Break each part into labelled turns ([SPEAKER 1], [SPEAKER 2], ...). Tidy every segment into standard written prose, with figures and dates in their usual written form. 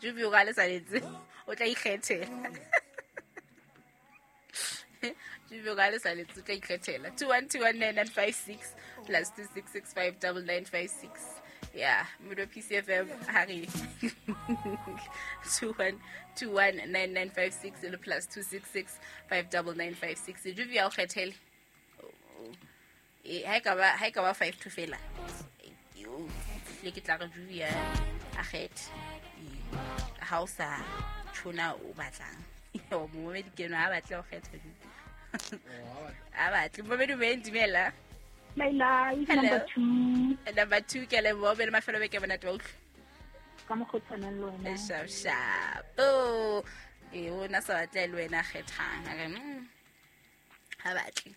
[SPEAKER 1] Jubi o ka le saletse, o tla ikgethela. Jubi o ka le saletse, o tla ikgethela. 21219956 plus 26659956. Ya modo PCFM ha re 21219956 le plus 26659956. Jubi ya o kgethele. Ha e ka ba ha e ka ba 5 to fela. Yo, le ke tla re Jubi a kgethe. Ha o sa tshona o batlang. Yo, momedi ke no ha batle ho kgetha Jubi. Ha batle. Momedi o dumela.
[SPEAKER 2] Laila,
[SPEAKER 1] Hello.
[SPEAKER 2] Number 2.
[SPEAKER 1] Number 2 ke leboha be le mafelo beke monate wa utlwa.
[SPEAKER 2] Ka mokgwa o tshwanang le wena.
[SPEAKER 1] Sharp sharp. Oh, e o na sa batle le wena kgethang. A re ha batle.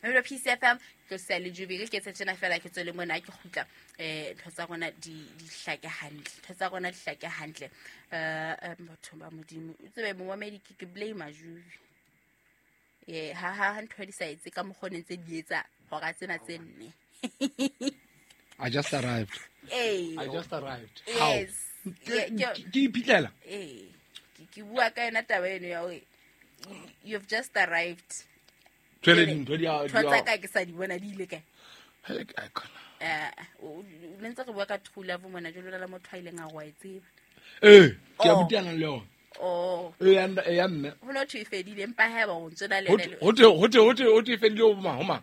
[SPEAKER 1] Mmele PCFM ke sa le Jubi ke tse tsena fela ke tswele mona ke kgutla ntho tsa rona di hlake hantle. Ntho tsa rona di hlake hantle. Batho ba Modimo. O tsebe momamedi ke blame Jubi. Ye ha ha ntho di sa etse ka mokgwa o ne ntse di etsa hora tsena tse nne.
[SPEAKER 3] I just arrived.
[SPEAKER 1] Ee.
[SPEAKER 3] I just arrived.
[SPEAKER 1] Yes.
[SPEAKER 3] How?
[SPEAKER 1] Ke
[SPEAKER 3] Ke iphitlhela.
[SPEAKER 1] Ee. Ke bua ka yona taba eno ya hore you've just arrived.
[SPEAKER 3] Jwale dintho di a
[SPEAKER 1] Ntho tsa ka ke sa di bona di ile kae?
[SPEAKER 3] Hele, ke khona.
[SPEAKER 1] O ne ntse re bua ka true love mona jwalo la motho a ileng a re wa e tseba.
[SPEAKER 3] Eh, ke a
[SPEAKER 1] Oh.
[SPEAKER 3] butiana le yona.
[SPEAKER 1] Oh.
[SPEAKER 3] Eh, ya mme.
[SPEAKER 1] Ho no thwe e fedile empa haeba o ntse na le
[SPEAKER 3] Ho
[SPEAKER 1] yena le
[SPEAKER 3] ho te e fedile ho mang ho mang.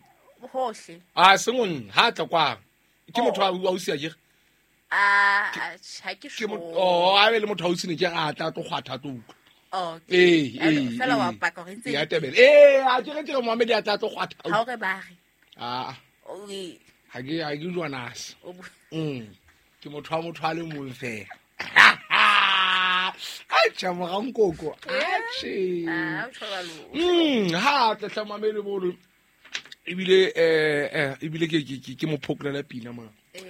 [SPEAKER 1] hohle.
[SPEAKER 3] A seng o nna ha tla kwang. Ke
[SPEAKER 1] Oh.
[SPEAKER 3] motho wa ausi a kere.
[SPEAKER 1] A ha ke
[SPEAKER 3] Ke
[SPEAKER 1] sure.
[SPEAKER 3] motho oh a be le motho ausi ne ke a tla tlo kgwatha tlo utlwa.
[SPEAKER 1] Okay.
[SPEAKER 3] Eh,
[SPEAKER 1] Alo,
[SPEAKER 3] eh.
[SPEAKER 1] fela wa paka hore ntse
[SPEAKER 3] Ya
[SPEAKER 1] e le
[SPEAKER 3] tebele. Eh, a ke re Mohammed a tla tlo kgwatha.
[SPEAKER 1] Ha o re ba re.
[SPEAKER 3] Ah,
[SPEAKER 1] O e
[SPEAKER 3] ha ke jwanase.
[SPEAKER 1] o bu-
[SPEAKER 3] Ke motho wa motho a le mong fela. Atjha morankoko. Atjhe.
[SPEAKER 1] Ah, o tjho jwalo.
[SPEAKER 3] Ha tla tla mamele bolo. Ebile ebile ke ke ke mo phokolela pina mona.
[SPEAKER 1] Eh.